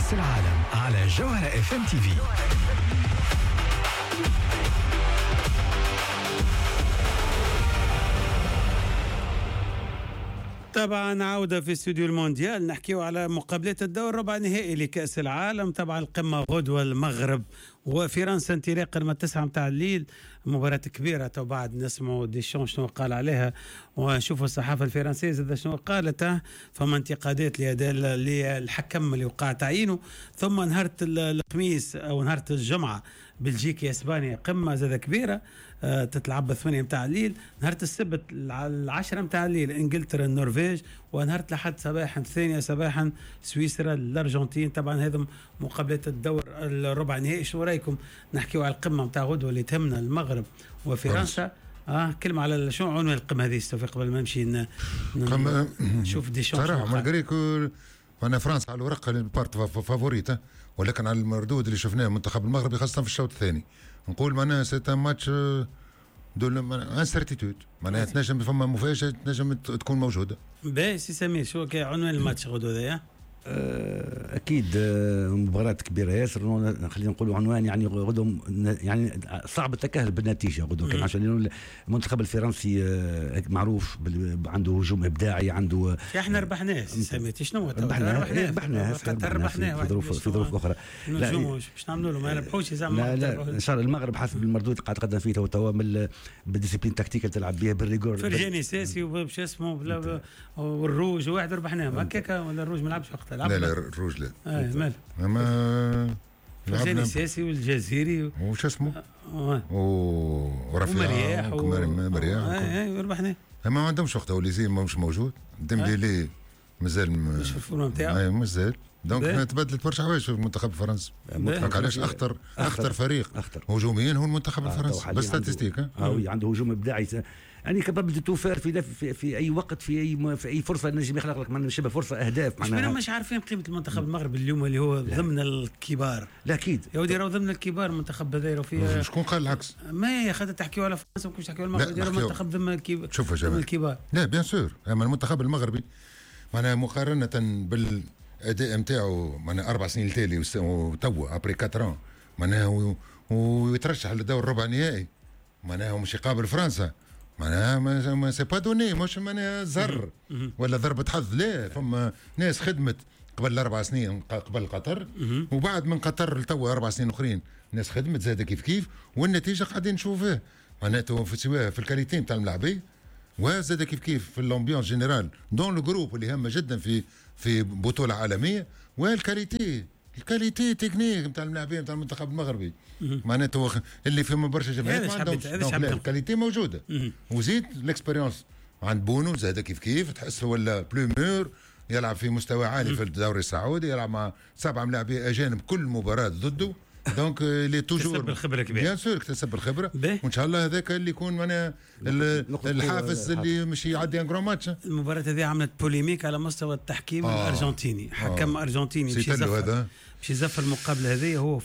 كأس العالم على جوهرة FM TV. طبعا عودة في استوديو المونديال، نحكيو على مقابلات الدور ربع نهائي لكأس العالم. طبعا القمة غدوة المغرب وفرنسا انطلاقا من 9 متاع الليل، مباراة كبيرة. تو بعد نسمعوا ديشون شنو قال عليها ونشوفوا الصحافة الفرنسية زاد شنو قالت. فما انتقادات للحكم اللي وقع تعيينه. ثم نهار الخميس او نهار الجمعة بلجيكا اسبانيا، قمة زاد كبيرة تتلعب 8 متاع الليل. نهار السبت 10 متاع الليل انجلترا النرويج، ونهار الأحد صباحا 2 صباحا سويسرا الارجنتين. طبعا هذم مقابلات الدور الربع نهائي. شنو رايكم نحكيو على القمه نتاع غدوه اللي تهمنا المغرب وفرنسا؟ كلمة على شنو عنوان القمه هذه توفيق قبل ما نمشي نشوف ديشون. صراحة malgré que انا فرنسا على الورقة part favorite، ولكن على المردود اللي شفناه منتخب المغربي خاصة في الشوط الثاني نقول معناها c'est un match de l'incertitude، معناها تنجم فما مفاجاة تنجم تكون موجودة. باهي سي سمير، شو عنوان الماتش غدوه هذايا؟ اكيد مباراة كبيرة ياسر، خلينا نقولوا عنوان يعني غدوه يعني صعب التكهل بالنتيجة غدوه كان، عشان المنتخب الفرنسي معروف عنده هجوم ابداعي، عنده احنا ربحناه سي شنو ربحناه في ظروف اخرى. لا باش نعملوا له ما ربحوش زعما. لا لا ان شاء الله المغرب حسب المردود قاعد تقدم فيه توا بال discipline tactique اللي تلعب بها بال rigueur. فرجاني ساسي وباش اسمه والروج واحد ربحناهم هكاك، ولا الروج ما لعبش وقتها؟ لا لا الروج لا. مال اما فرجاني الساسي والجزيري وش اسمه ورفيع ومرياح ربحناه. ما عندهمش وقتها، وليزي مش موجود، ديمبلي مازال مش في ال forme نتاعو مازال. donc تبدلت برشا حوايج في المنتخب الفرنسي. علاش اخطر فريق هجوميا هو المنتخب الفرنسي بال statistiques. Oui عنده هجوم ابداعي يعني capable de tout faire في اي وقت في اي فرصة نجم يخلق لك معناها شبه فرصة اهداف. معناها مش عارفين قيمة المنتخب المغربي اليوم اللي هو ضمن الكبار. لا اكيد يا ودي راهو ضمن الكبار المنتخب هذا فيه. شكون قال العكس؟ ما خاطر تحكيوا على فرنسا وكنتش تحكيوا على المغرب، المنتخب ضمن الكبار. شوف يا الكبار. لا bien sûr، اما المنتخب المغربي معناها مقارنة بالاداء نتاعو معناها 4 سنين التالي وتوا après 4 معناها ويترشح للدور الربع النهائي، معناها مش يقابل فرنسا، معناها ما c'est pas donné، مش معناها زر ولا ضربة حظ. لا فما ناس خدمت قبل 4 سنين قبل قطر، وبعد من قطر لتوا 4 سنين اخرين ناس خدمت زاد كيف كيف، والنتيجة قاعدين نشوفوها معناته في سواء في ال qualité نتاع الملاعبيه وزاد كيف كيف في l'ambiance générale dans le groupe اللي هامة جدا في بطوله عالمية، وال qualité ال qualité technique نتاع الملاعبين نتاع المنتخب المغربي معناته اللي فما برشا جمعيات ما عندهمش ال qualité موجودة. وزيد l'expérience عند بونو زاد كيف كيف، تحس ولا plus mûr، يلعب في مستوى عالي في الدوري السعودي، يلعب مع 7 ملاعبين اجانب كل مباراة ضده، donc il est toujours اكتسب الخبرة كبيرة. bien sûr اكتسب الخبرة، وان شاء الله هذاك اللي يكون معناها الحافز اللي مش يعدي un grand match. المباراة هذه عملت polémique على مستوى التحكيم الارجنتيني. حكم ارجنتيني باش يزفر المقابلة هذه هو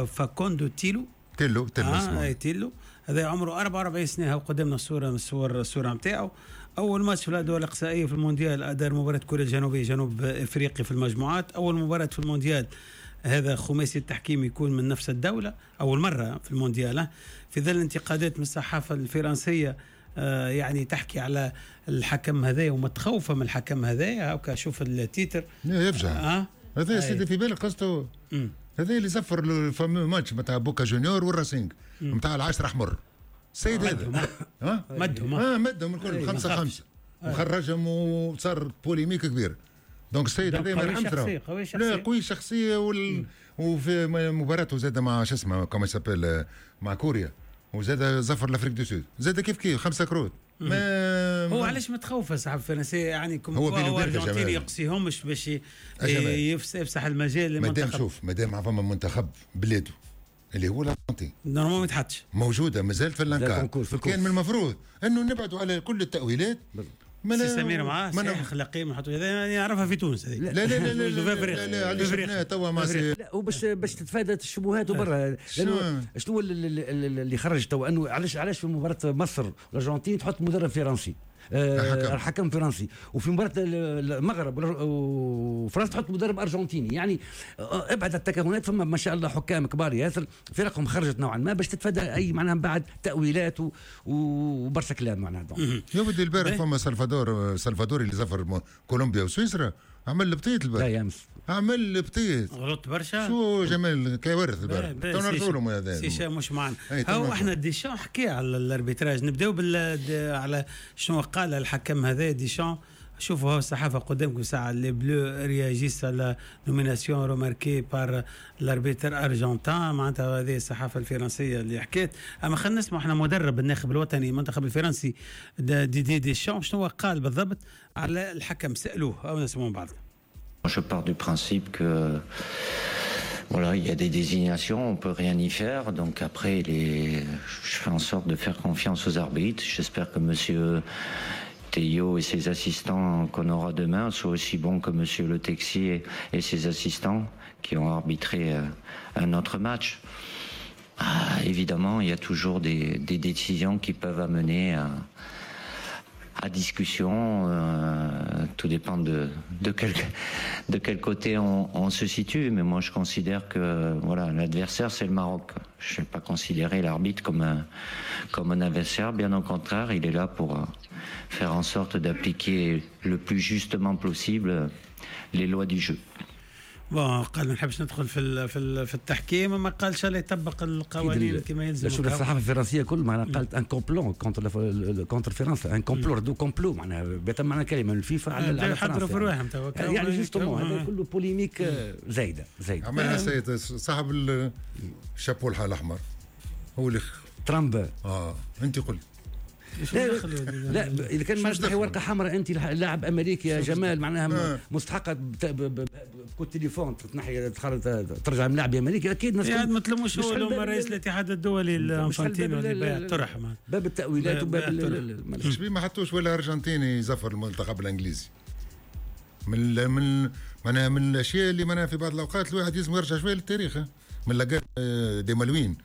فاكوندو تيلو. تيلو اسمه. تيلو هذا عمره 44 سنة، قدامنا الصورة نتاعو. اول ماتش في الادوار الاقصائية في المونديال ادار مباراة كوريا الجنوبية جنوب افريقيا في المجموعات. اول مباراة في المونديال هذا خماسي التحكيم يكون من نفس الدولة، أول مرة في المونديال. في ظل انتقادات من الصحافة الفرنسية يعني تحكي على الحكم هذا ومتخوفة من الحكم هذا. هاكا شوف ال titre يفجع هذا سيدي في بالك قصته هذا اللي زفر ال fameux match نتاع بوكا جونيور والراسينغ نتاع 10 احمر السيد هذا مدهم مدهم الكل 5-5 وخرجهم وصار polémique كبير. donc السيد هذا ما يرحمش، لا قوي شخصية وفي مباراته زاد مع شو اسمه comment s'appelle مع كوريا، وزاد زفر l'Afrique du Sud زاد كيف كيف 5 كروت. ما هو علاش متخوف الصحافة الفرنسية يعني هو ارجنتيني يقصيهمش باش يفسح المجال للمنتخب. مادام شوف مادام فما منتخب بلاده اللي هو الارجنتين normalement ما يتحطش موجودة مازالت في l'encart، كان من المفروض انه نبعدوا على كل التاويلات. سي سمير معاه صحيح اخلاقي ما نحطوا هذا يعرفها في تونس هذه. لا لا لا لا لا لا علاش شفناها توا مع لا وباش باش تتفادى الشبهات وبرا، لانه شنو اللي خرج توا انه علاش في مباراة مصر والارجنتين تحط مدرب فرنسي؟ الحكم فرنسي، وفي مباراة المغرب وفرنسا تحط مدرب ارجنتيني. يعني ابعد التكهنات، فما ما شاء الله حكام كبار ياسر، فرقهم خرجت نوعا ما باش تتفادى اي معناها بعد تاويلات وبرشا كلام معناها. يا ودي البارح فما سلفادور اللي زفر كولومبيا وسويسرا، عمل البطيط البارح. لا يامس عمل البطيط، غلط برشا. شو جمال كوارث البارح، تو نرجعوا لهم هذا سي مش معنا. هو احنا ديشان حكي على ال arbitrage، نبداو على شنو قال الحكم هذا ديشان. شوفوا هو الصحافة قدامكم ساعة، les Bleus réagissent à la nomination remarquée par l'arbitre argentin، معناتها هذه الصحافة الفرنسية اللي حكيت. اما خلينا نسمع احنا مدرب الناخب الوطني المنتخب الفرنسي ديدي ديشان شنو قال بالضبط على الحكم، سالوه او نسمعوا بعض. Je pars du principe que voilà, il y a des désignations, on peut rien y faire. Donc après, je fais en sorte de faire confiance aux arbitres. J'espère que Monsieur Théo et ses assistants qu'on aura demain soient aussi bons que Monsieur Le Texier et ses assistants qui ont arbitré un autre match. Ah, évidemment, il y a toujours des décisions qui peuvent amener à discussion, tout dépend de quel côté on se situe, mais moi je considère que voilà, l'adversaire c'est le Maroc. Je ne vais pas considérer l'arbitre comme un adversaire, bien au contraire, il est là pour faire en sorte d'appliquer le plus justement possible les lois du jeu. bon قال ما نحبش ندخل في التحكيم، ما قالش لا يطبق القوانين كما يلزم. شوف الصحافة الفرنسية كل معناها قالت un complot contre فرنسا، un complot du complot معناها بتم معنى كلمة الفيفا على فرنسا في رواحهم يعني justement هذا كله polémique زايدة. عملها سيد صاحب الشابو الاحمر هو اللي ترامب. انت قلت لا لا، اذا كان ما تنحي ورقة حمراء انت لاعب امريكي يا جمال معناها مستحقه ب coup de téléphone تنحي ترجع من لاعب امريكي اكيد. يعني ما تلوموش هو رئيس الاتحاد الدولي الانفانتينو اللي باع الطرح باب التاويلات وباب مش ما حطوش ولا ارجنتيني يزفر المنتخب الانجليزي من معناها من الاشياء اللي معناها في بعض الاوقات الواحد لازم يرجع شوية للتاريخ من la guerre des Malouines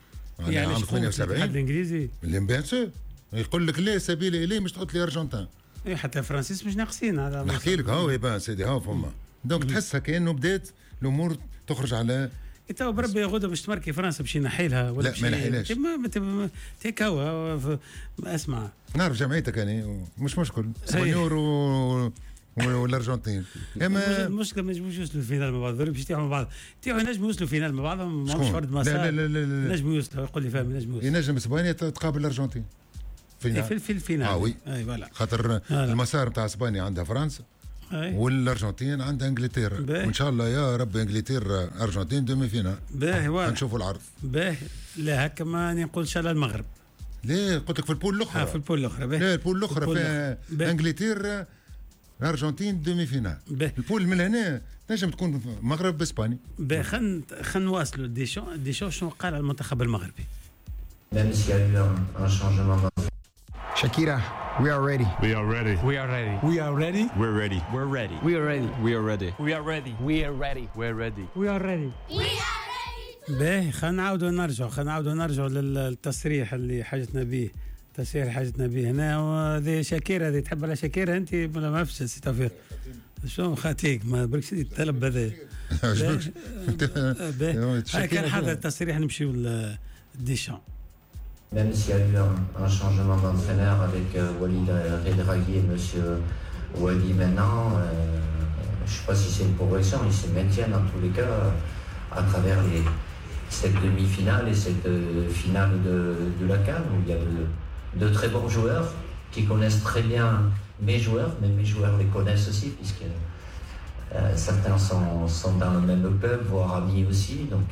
يعني عام 78 الاتحاد الانجليزي اللي bien sûr يقول لك لا سبيل اليه مش تحط لي ارجنتين. اي حتى فرانسيس مش ناقصين هذا نحكي لك هاو يبان سيدي هاو فما donc تحسها كانه بدات الامور تخرج على تو بربي غدوه باش تمركي فرنسا باش ينحي لها ولا لا ما ينحيلهاش ما تيك هو اسمع نعرف جمعيتك يعني مش مشكل اسبانيور والارجنتين اما المشكلة ما ينجموش يوصلوا ال finale مع بعض، باش يطيحوا مع بعض يطيحوا ينجموا يوصلوا ال finale مع بعضهم ماهمش فرد مسار. لا لا لا لا ينجموا يوصلوا يقول لي فاهم ينجموا يوصلوا ينجم اسبانيا تقابل الارجنتين في ال finale. Oui اي voilà خاطر المسار نتاع اسبانيا عندها فرنسا والارجنتين عندها انجلترا، وان شاء الله يا رب انجلترا ارجنتين demi-finale. باهي واضح نشوفوا العرض. باهي لا هكا ما نقول ان شاء الله المغرب. ليه قلت لك في ال poule الاخرى. في ال poule الاخرى. باهي لا ال poule الاخرى فيها انجلترا ارجنتين demi-finale. ال poule من هنا تنجم تكون مغرب باسبانيا. باهي خلينا نواصلوا ديشون شنو قال على المنتخب المغربي. Même s'il y a eu un changement. Shakira, we are ready. We are ready. We are ready. We are ready. We're ready. We're ready. We are ready. We are ready. We are ready. We are ready. We're ready. We are ready. We are ready. باهي خلينا نعاودوا نرجعوا للتصريح اللي حاجتنا به، التصريح اللي حاجتنا به هنا. وهذه شاكيرا، هذه تحب على شاكيرا انت ولا ما عرفتش سي توفيق؟ شو خاتيك ما بركش الطلب هذا. باهي كان حاضر التصريح نمشيو لديشان. Même s'il y a eu un changement d'entraîneur avec Walid Regragui et Monsieur Wali maintenant, je ne sais pas si c'est une progression, ils se maintiennent en tous les cas à travers cette demi-finale et cette finale de la CAN où il y a de très bons joueurs qui connaissent très bien mes joueurs, mais mes joueurs les connaissent aussi puisque certains sont dans le même club, voire amis aussi. Donc,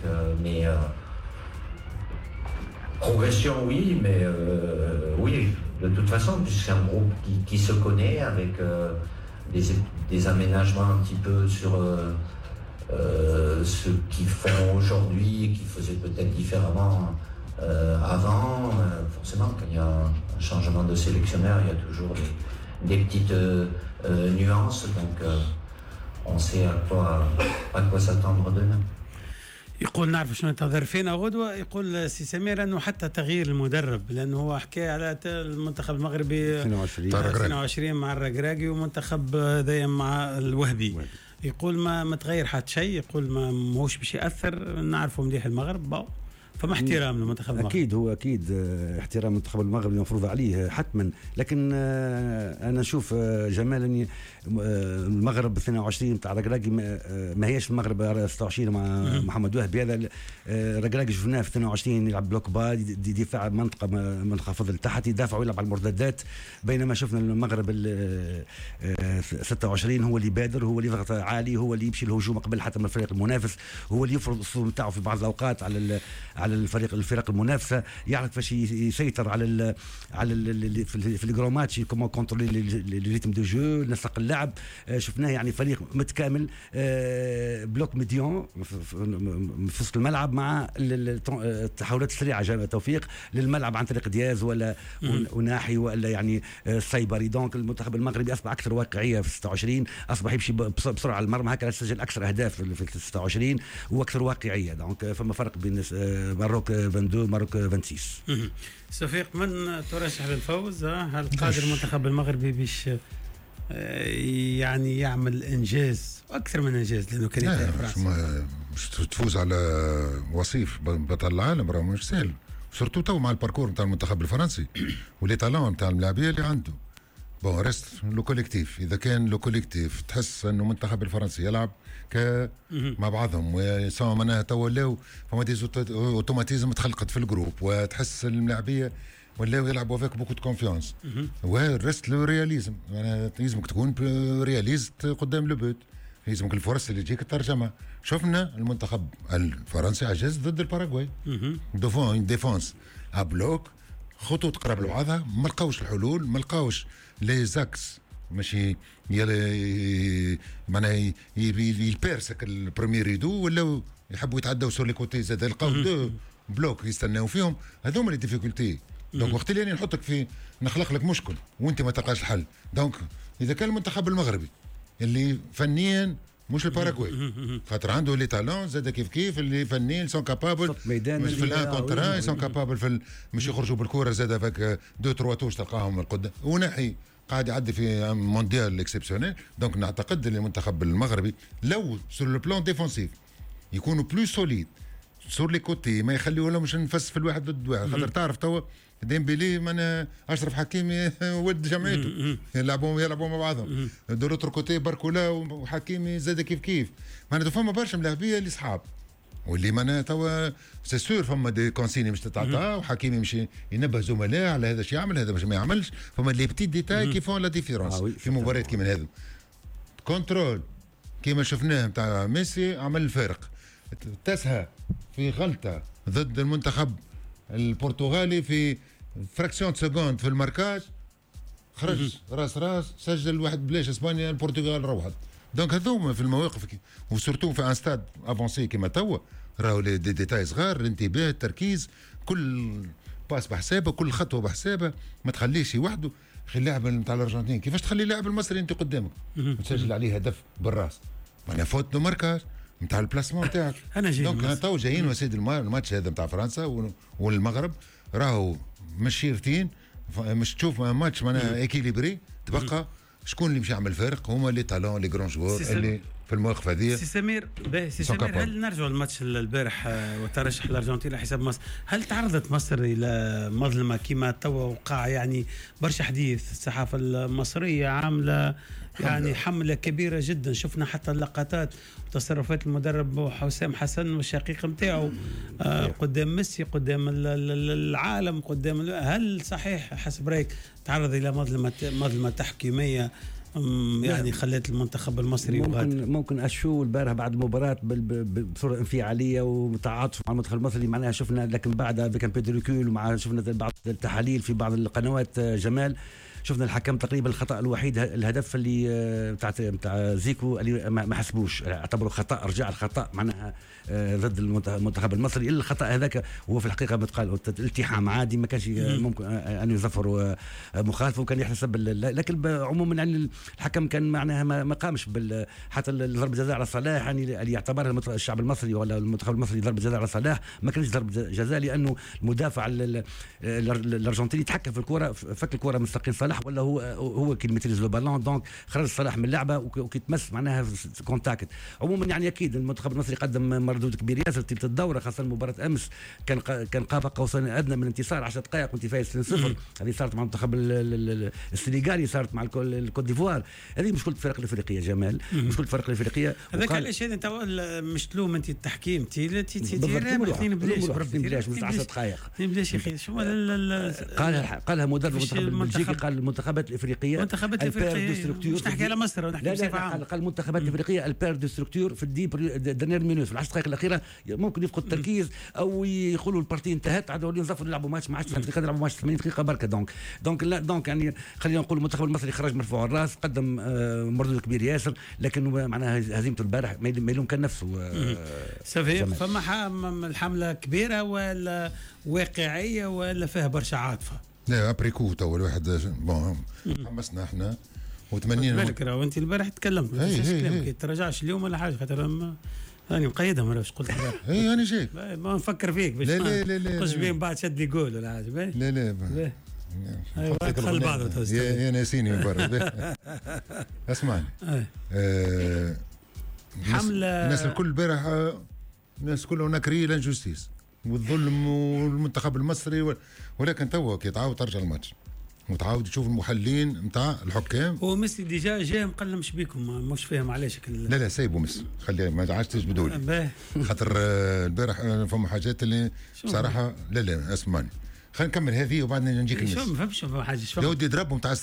progression, oui, mais oui, de toute façon, puisque c'est un groupe qui se connaît avec des aménagements un petit peu sur ce qu'ils font aujourd'hui et qu'ils faisaient peut-être différemment avant. Forcément, quand il y a un changement de sélectionneur, il y a toujours des petites nuances, donc on sait à quoi s'attendre demain. يقول نعرف شنو ينتظر فينا غدوه. يقول سي سمير انه حتى تغيير المدرب، لانه هو حكى على المنتخب المغربي 22 مع الركراكي ومنتخب هذايا مع الوهبي، يقول ما تغير حتى شيء، يقول ما ماهوش باش ياثر، نعرفوا مليح المغرب. فما احترام للمنتخب المغربي. اكيد هو اكيد احترام المنتخب المغربي المفروض عليه حتما، لكن انا نشوف جمال اني المغرب 22 تاع ركراكي ما هيش المغرب 26 مع محمد وهبي. هذا ركراكي شفناه في 22 يلعب bloc bas، دفاع منطقة منخفض لتحت، يدافع ويلعب على المرتدات، بينما شفنا المغرب 26 هو اللي بادر، هو اللي يضغط عالي، هو اللي يمشي الهجوم قبل حتى من الفريق المنافس، هو اللي يفرض الاسلوب نتاعو في بعض الاوقات على الفرق المنافسة، يعرف كيفاش يسيطر على ال على ال في ال gros match، comment contrôler le rythme de jeu، نسق اللعب. شفناه يعني فريق متكامل، bloc médian في وسط الملعب مع التحولات السريعة جاب توفيق للملعب عن طريق دياز ولا وناحي ولا يعني السيبري. donc المنتخب المغربي اصبح اكثر واقعية في 26، اصبح يمشي بسرعة على المرمى، هكذا سجل اكثر اهداف في 26 واكثر واقعية. donc فما فرق بين Maroc 22 Maroc 26. صفيق، من ترشح للفوز؟ هل قادر المنتخب المغربي باش يعني يعمل انجاز واكثر من انجاز، لانه كان يتأهل فرنسا مش تفوز على وصيف بطل العالم، راه مش سهل، surtout تو مع ال parcours نتاع المنتخب الفرنسي و les talents نتاع الملاعبيه اللي عنده. bon reste le collectif، اذا كان le collectif تحس انه المنتخب الفرنسي يلعب مع بعضهم سواء معناها تو ولاو فما des automatismes تخلقت في ال groupe، وتحس الملاعبيه ولاو يلعبوا avec beaucoup de confiance، و reste le réalisme، معناها لازمك تكون réaliste قدام le but، لازمك الفرص اللي تجيك ترجمها. شفنا المنتخب الفرنسي عجز ضد الباراغواي devant une défense à bloc، خطوط قراب لبعضها، ما لقاوش الحلول، ما لقاوش les axes ماشي معناها ي percer ال premier rideau، ولاو يحبوا يتعداو sur les côtés، زاد لقاو deux blocs يستناو فيهم، هذوما les difficultés. donc وقت اللي انا نحطك في نخلق لك مشكل وانت ما تلقاش الحل. donc اذا كان المنتخب المغربي اللي فنيا مش الباراغواي، خاطر عنده les talents زاد كيف كيف اللي فنيا sont capables في ال un contre un، sont capables في مش يخرجوا بالكورة زاد avec deux trois touches تلقاهم القدام، ونحي قاعد يعدي في مونديال exceptionnel. donc نعتقد ان المنتخب المغربي لو sur le plan défensif يكونوا plus solides sur les côtés، ما يخليوا لهمش نفس في الواحد ضد واحد، خاطر تعرف توا ديمبيلي من اشرف حكيمي ولد جمعيته يلعبوا مع بعضهم، de l'autre côté باركولا وحكيمي زاد كيف كيف، معناتها فما برشا ملاعبيه اللي صحاب واللي معناها توا c'est sûr فما des consignes مش تتعطى، وحكيمي مش ينبه زملائه على هذا شو يعمل هذا باش ما يعملش، فما les petits détails qui font la différence في مباريات كيما هذو. contrôle كيما شفناه نتاع ميسي عمل الفارق، تسهى في غلطه ضد المنتخب البرتغالي في fraction seconde في ال marquage، خرج راس راس سجل واحد بلاش، اسبانيا البرتغال روحت. donc هذوما في المواقف و surtout في un stade avancé كيما توا، راهو les détails صغار، الانتباه، التركيز، كل passe بحسابه، كل خطوة بحسابه، ما تخليش وحده. خلي اللاعب نتاع الارجنتين كيفاش تخلي اللاعب المصري انت قدامك وتسجل عليه هدف بالراس، معناها faute de marquage نتاع ال placement تاعك. انا جاي donc تو جايين وسيد الماتش هذا نتاع فرنسا والمغرب راهو مش شيرتين، مش تشوف ماتش معناها équilibré، تبقى شكون اللي مش يعمل فرق؟ هما les talents les grands joueurs اللي في المواقف هذه. سي سمير، باهي سي سمير، هل نرجع للماتش البارح وترشح الارجنتين على حساب مصر، هل تعرضت مصر الى مظلمة كما توا وقع يعني برشا حديث، الصحافة المصرية عامله يعني حمله كبيرة جدا، شفنا حتى اللقطات وتصرفات المدرب حسام حسن والشقيق نتاعو قدام ميسي، قدام العالم، قدام، هل صحيح حسب رايك تعرض الى مظلمة تحكيميه يعني خلت المنتخب المصري يغادر؟ ممكن à chaud البارح بعد المباراة بصورة انفعاليه وتعاطف مع المنتخب المصري معناها شفنا، لكن بعدها avec un peu de recul ومع شفنا بعض التحاليل في بعض القنوات جمال، شفنا الحكم تقريبا الخطا الوحيد الهدف اللي نتاع زيكو اللي ما حسبوش، اعتبروا خطا، رجع الخطا معناها ضد المنتخب المصري. الا الخطا هذاك هو في الحقيقة متقال التحام عادي، ما كانش ممكن ان يظفروا مخالفة وكان يحتسب، لكن عموما يعني الحكم كان معناها ما قامش حتى ضربه جزاء على صلاح، يعني اللي يعتبرها الشعب المصري ولا المنتخب المصري ضربه جزاء على صلاح ما كانش ضربه جزاء، لانه المدافع الارجنتيني تحكم في الكره، فك الكره من ساقين صلاح ولا هو qui maîtrise le ballon، donc خرج صلاح من اللعبة وكي تمس معناها contact. عموما يعني اكيد المنتخب المصري قدم مردود كبير ياسر تلك الدورة، خاصة مباراة امس كان قاب قوسين ادنى من انتصار 10 دقائق وانت فايز 2-0. هذه صارت مع المنتخب السنغالي، صارت مع الكوت ديفوار. هذه مشكلة الفرق الافريقية جمال، مشكلة الفرق الافريقية. هذاك علاش انت مش تلوم انت التحكيم تي اثنين بلاش بربي بلاش 10 دقائق اثنين بلاش يا اخي. شو قالها مدرب المنتخب البلجيكي، قال المنتخبات الافريقية المنتخبات الافريقية مش نحكي على مصر ونحكي بصفة عامة، قال المنتخبات الافريقية elles perdent de structure في ال dix dernières minutes، في العشر دقائق الاخيرة ممكن يفقد التركيز او يقولوا ال partie انتهت، عاد يوليو نصفوا نلعبوا ماتش ما عادش دقيقة، نلعبوا ماتش 80 دقيقة بركة. donc donc لا donc يعني خلينا نقول المنتخب المصري خرج مرفوع الراس، قدم مردود كبير ياسر، لكن معناها هزيمته البارح ما يلوم كان نفسه. صافي فما الحملة كبيرة ولا واقعية ولا فيها برشا عاطفة؟ لا après coup تو الواحد bon حمسنا احنا وتمنينا بالك راهو انت البارح تكلمت ما تنساش كلامك، تراجعش اليوم ولا حاجة خاطر راني مقيدها مرة باش قلت البارح. اي انا جاي ما نفكر فيك باش لا لا لا لا قش بين بعد شد لي جول ولا حاجة. لا لا دخل بعضه يا ناسيني من برا. اسمعني حمله الناس الكل البارح، الناس كلها نكري l'injustice والظلم والمنتخب المصري ولكن توا كي تعاود ترجع الماتش وتعاود تشوف المحللين نتاع الحكام. هو ميسي déjà جاي مقلم بيكم مش فاهم علاش لا لا سايبوا ميسي، خليه ما عادش تجبدوا لي خاطر البارح فما حاجات اللي بصراحة لا لا اسمعني خلينا نكمل هذه وبعد نجيك الميسي. شو ما فهمتش حاجة يا ودي ضربهم تاع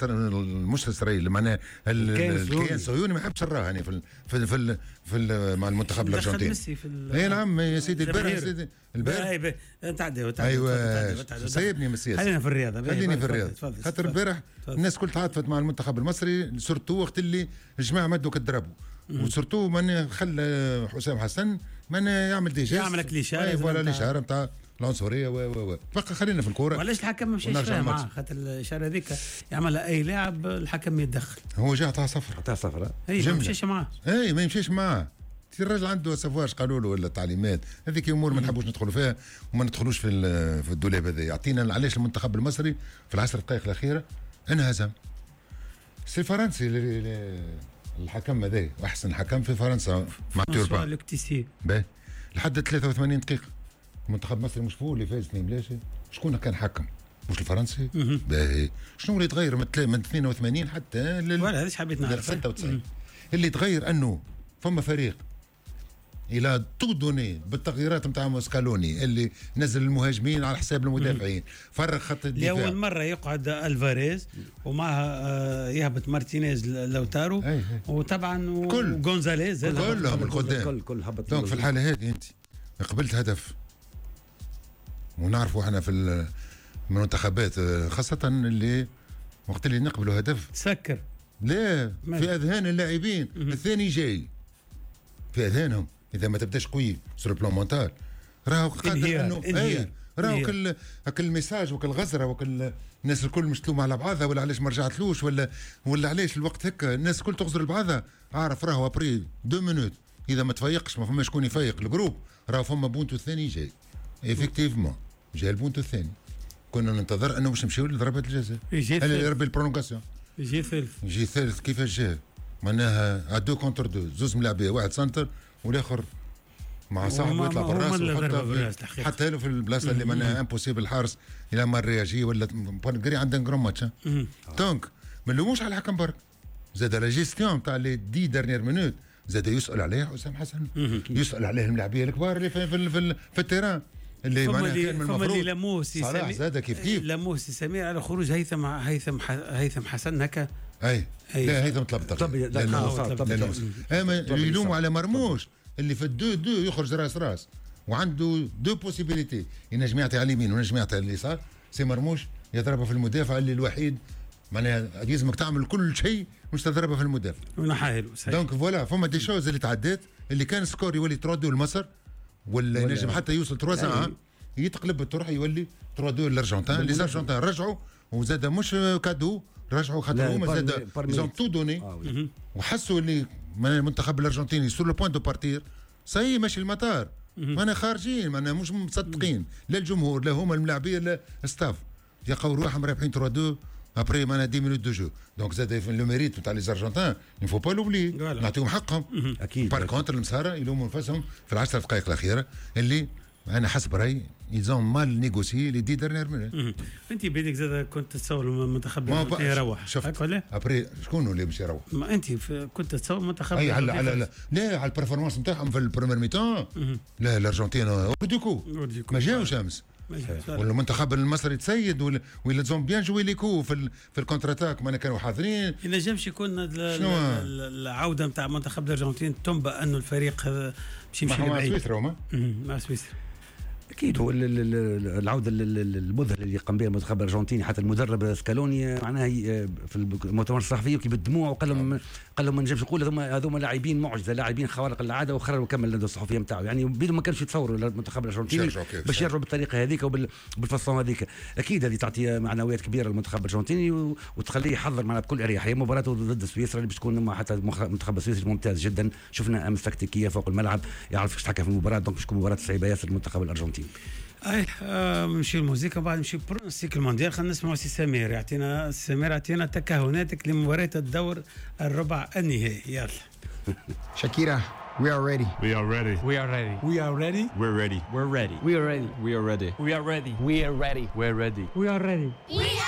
مش اسرائيل معناها الكيان الصهيوني ما يحبش نراه يعني في في في, في مع المنتخب الارجنتيني. اي نعم يا سيدي البارح يا سيدي البارح تعدي ايوه سيبني من السياسة، خلينا في الرياضة، خليني في الرياضة خاطر البارح الناس كل تعاطفت مع المنتخب المصري surtout وقت اللي الجماعة مدوا كضربوا و surtout من خلى حسام حسن من يعمل des gestes يعمل لك الاشارة voilà الاشارة نتاع العنصرية و بقى خلينا في الكورة. وعلاش الحكم ما مشاش فيها معاه؟ خاطر الاشارة هذيك يعملها اي لاعب الحكم يتدخل. هو جا عطاه صفر، عطاه صفر اي ما يمشيش معاه، اي ما يمشيش معاه. الراجل عنده savoir قالوا له ولا تعليمات، هذيك امور ما نحبوش ندخلوا فيها وما ندخلوش في الدولاب هذا. يعطينا علاش المنتخب المصري في العشر دقائق الاخيرة انهزم. c'est فرنسي الحكم هذا، احسن حكم في فرنسا مع توربان باهي لحد 83 دقيقة المنتخب المصري مش هو اللي فاز 2 بلاش. شكون كان حكم؟ مش الفرنسي؟ باهي شنو اللي تغير من 82 حتى ولا هذا حبيت نعرف 96 اللي تغير انه فما فريق il a tout donné بالتغييرات نتاع سكالوني اللي نزل المهاجمين على حساب المدافعين، فرق خط الدفاع. لاول مرة يقعد الفاريز ومعها يهبط مارتينيز لوتارو وطبعا وغونزاليز كلهم القدام كل هبط. donc في الحالة هذه انت قبلت هدف، ونعرفوا احنا في المنتخبات خاصة اللي وقت اللي نقبلوا هدف تسكر لا في اذهان اللاعبين الثاني جاي في اذهانهم اذا ما تبداش قوي sur plan mental راهو قادر انه اي راهو كل message وكل غزره وكل الناس الكل مش تلوم على بعضها ولا علاش ما رجعتلوش ولا علاش الوقت هكا الناس الكل تغزر لبعضها. عارف راهو après 2 minutes اذا ما تفيقش ما فما شكون يفيق ال groupe راهو فما بونتو الثاني جاي. effectivement جاي البونتو الثاني، كنا ننتظر انه باش نمشيو لضربات الجزاء اللي ربي ال prolongation يجي ثالث، يجي ثالث. كيفاش جا؟ معناها 2 contre 2 زوز ملاعبيه واحد centre والاخر مع صاحبه يطلع بالراس حتى له في البلاصة اللي معناها impossible الحارس الى ما réagit ولا بانغري عنده grand match. donc ما نلوموش على الحكم برك، زاد la gestion تاع les 10 dernières minutes زاد يسال عليه حسام حسن، يسال عليه الملاعبيه الكبار اللي في في, في, في ال terrain اللي معناها كان من المفروض صلاح زاد كيف كيف لاموه سي سمير على خروج هيثم هيثم هيثم حسن هكا. اي لا هيثم طلب طلب اما يلوموا على مرموش اللي في ال deux deux يخرج راس راس وعنده deux possibilités، ينجم يعطي على اليمين وينجم يعطي على اليسار. c'est مرموش يضربها في المدافع اللي الوحيد معناها لازمك تعمل كل شيء مش تضربها في المدافع ونحاها له donc voilà فما des choses اللي تعدات اللي كان score يولي 3-2 لمصر ولا ينجم حتى يوصل 3-1، يتقلب الطرح يولي 3-2 للارجنتين. les Argentins رجعوا وزاد مش cadeau، رجعوا خاطر هما زاد ils ont tout donné وحسوا اللي المنتخب الارجنتيني sur le point de partir، ça y est ماشي المطار، مانا خارجين، مانا مش مصدقين لا الجمهور لا هما الملاعبيه لا staff، يلقاو روحهم رابحين 3-2 après معناها 10 minutes de jeu. donc زاد le mérite نتاع les Argentins il faut pas l'oublier، نعطيهم حقهم. اكيد. par contre المصارى يلوموا نفسهم في العشر دقائق الاخيرة اللي انا حسب رايي ils ont mal négocié les 10 dernières minutes. انت بيدك زاد كنت تتصور المنتخب يروح؟ شفت après شكون اللي باش يروح؟ ما انت كنت تتصور المنتخب. اي على على لا على ال performance نتاعهم في ال première mi-temps، لا الارجنتين hors du coup ما جاوش امس، والمنتخب المصري تسيد ولا ils ont bien joué les coups في ال contre-attaque، ما كانوا حاضرين. ينجمش يكون العودة نتاع منتخب الارجنتين تنبأ انه الفريق باش يمشي لبعيد مع سويسرا هما مع سويسرا. اكيد هو العودة المذهلة اللي قام بها المنتخب الارجنتيني، حتى المدرب سكالوني معناها في المؤتمر الصحفي يبكي بالدموع وقال لهم، قال لهم ما نجمش نقول هذوما لاعبين معجزه، لاعبين خوارق العادة، وخرج وكمل الندوة الصحفية نتاعو. يعني بينهم ما كانش يتصوروا المنتخب الارجنتيني باش يرجعوا بالطريقة هذيك وبال façon هذيك. اكيد هذه تعطي معنويات كبيرة للمنتخب الارجنتيني وتخليه يحضر معنا بكل اريحية مباراته ضد سويسرا اللي باش تكون، حتى المنتخب السويسري ممتاز جدا، شفنا امس تكتيكية فوق الملعب، يعرف كيفاش يتحكم في المباراه، donc باش تكون مباراة صعيبة ياسر للمنتخب الارجنتيني. اي نمشي الموسيقى بعد نمشي pronostic المونديال. خلينا نسمعوا سي سمير، يعطينا سمير يعطينا تكهناتك لمباراة الدور الربع النهائي، يلا. شاكيرا، we are ready. We are ready. We are ready. We are ready. We're ready. We're ready. We are ready. We are ready. We are ready. We are ready. We are ready. We are ready.